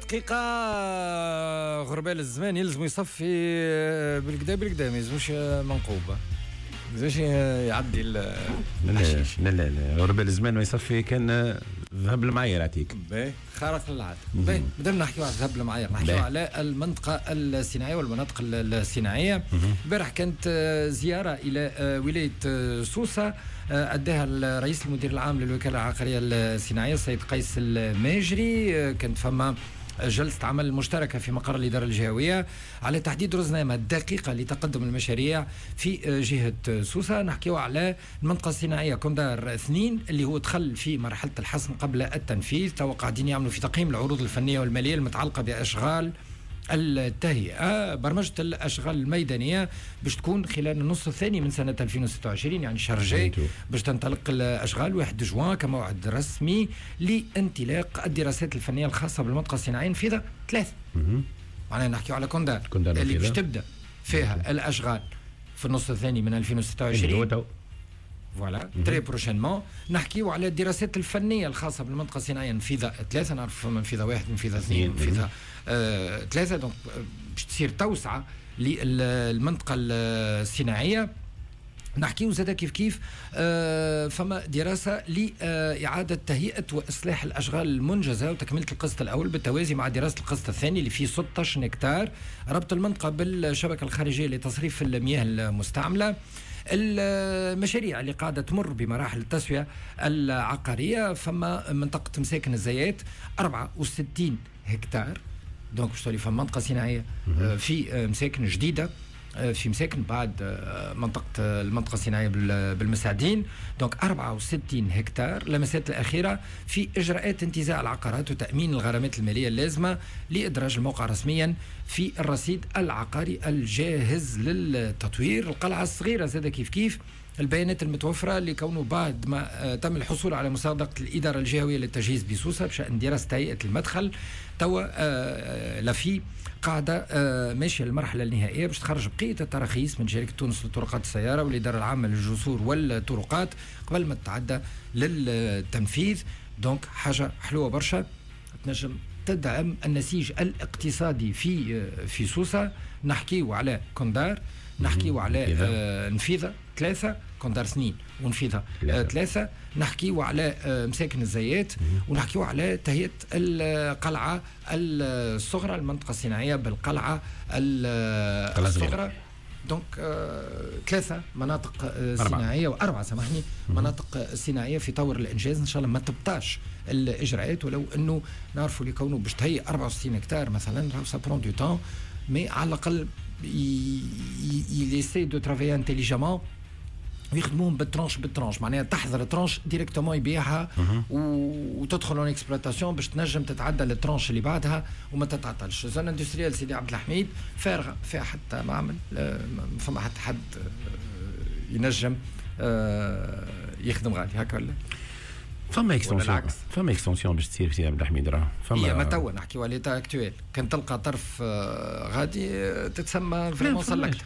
دقيقة. غربال الزمان يلزم يصفي بالقدا بالقدا، ما يلزموش منقوبة، ما يلزمش يعدي. لا لا لا لا، غربال الزمان ما يصفي كان ذهب المعايير يعطيك. باهي، خارق للعادة. باهي، مادام نحكيو على الذهب المعايير، نحكيو على المنطقة الصناعية والمناطق الصناعية. البارح كانت زيارة إلى ولاية سوسة أداها الرئيس المدير العام للوكالة العقارية الصناعية السيد قيس الماجري. كانت فما جلسة عمل مشتركة في مقر الإدارة الجهوية على تحديد رزنامة دقيقة لتقدم المشاريع في جهة سوسة. نحكيو على المنطقة الصناعية كوندار 2 اللي هو دخل في مرحلة الحسم قبل التنفيذ. توا قاعدين يعملوا في تقييم العروض الفنية والمالية المتعلقة بأشغال التهيئة. برمجة الأشغال الميدانية باش تكون خلال النص الثاني من سنة 2026، يعني الشهر الجاي باش تنطلق الأشغال، 1 جوان كموعد رسمي لانطلاق الدراسات الفنية الخاصة بالمنطقة الصناعية نفيضة 3. معناها نحكيو على كوندار اللي باش تبدأ فيها الأشغال في النص الثاني من 2026، voilà très prochainement. نحكيو على الدراسات الفنية الخاصة بالمنطقة الصناعية نفيضه 3، نعرف فما نفيضه 1، نفيضه 2، نفيضه 3. donc باش تصير توسعه للمنطقة الصناعيه. نحكيو زاد كيف كيف فما دراسة لإعادة تهيئة وإصلاح الأشغال المنجزة وتكملة القسط الأول بالتوازي مع دراسة القسط الثاني اللي فيه 16 هكتار، ربط المنطقة بالشبكة الخارجية لتصريف المياه المستعملة. المشاريع اللي قاعدة تمر بمراحل التسوية العقارية، فما منطقة مساكن الزيات 64 هكتار، donc باش تولي فما منطقة صناعية في مساكن جديدة في مساكن بعد المنطقة الصناعية بالمساعدين، donc 64 هكتار. لمسات الأخيرة في إجراءات انتزاع العقارات وتأمين الغرامات المالية اللازمة لإدراج الموقع رسميا في الرصيد العقاري الجاهز للتطوير. القلعة الصغيرة زاد كيف كيف البيانات المتوفرة لكونه بعد ما تم الحصول على مصادقة الإدارة الجهوية للتجهيز بسوسة بشأن دراسة هيئة المدخل، توا l'AFI قاعدة ماشية للمرحلة النهائية باش تخرج بقية التراخيص من شركة تونس لطرقات السيارة والإدارة العامة للجسور والطرقات قبل ما تتعدى للتنفيذ. donc حاجة حلوة برشا تنجم تدعم النسيج الاقتصادي في سوسة. نحكيو على كوندار، نحكيو على نفيضة 3، كوندار 2 ونفيضة 3، نحكيو على مساكن الزيات، ونحكيو على تهيئة القلعة الصغرى، المنطقة الصناعية بالقلعة الصغرى. donc 3 مناطق صناعية وأربعة، سامحني، مناطق صناعية في طور الإنجاز. إن شاء الله ما تبطاش الإجراءات، ولو أنه نعرفوا اللي كونه باش تهيئ 64 هكتار مثلا ça prend du temps، mais على الأقل il essaie de travailler intelligemment ويخدموهم بال tranche بال tranche، معناها تحضر tranche directement يبيعها وتدخل en exploitation باش تنجم تتعدى لل tranche اللي بعدها وما تتعطلش. zone industrielle سيدي عبد الحميد فارغة، فيها حتى معمل، ما فما حتى حد ينجم يخدم غادي هكا ولا؟ فما extension، فما extension باش تصير في سيدي عبد الحميد راه. فما هي ما توا نحكيو على l'état actuel، كان تلقى طرف غادي تتسمى vraiment سلكت.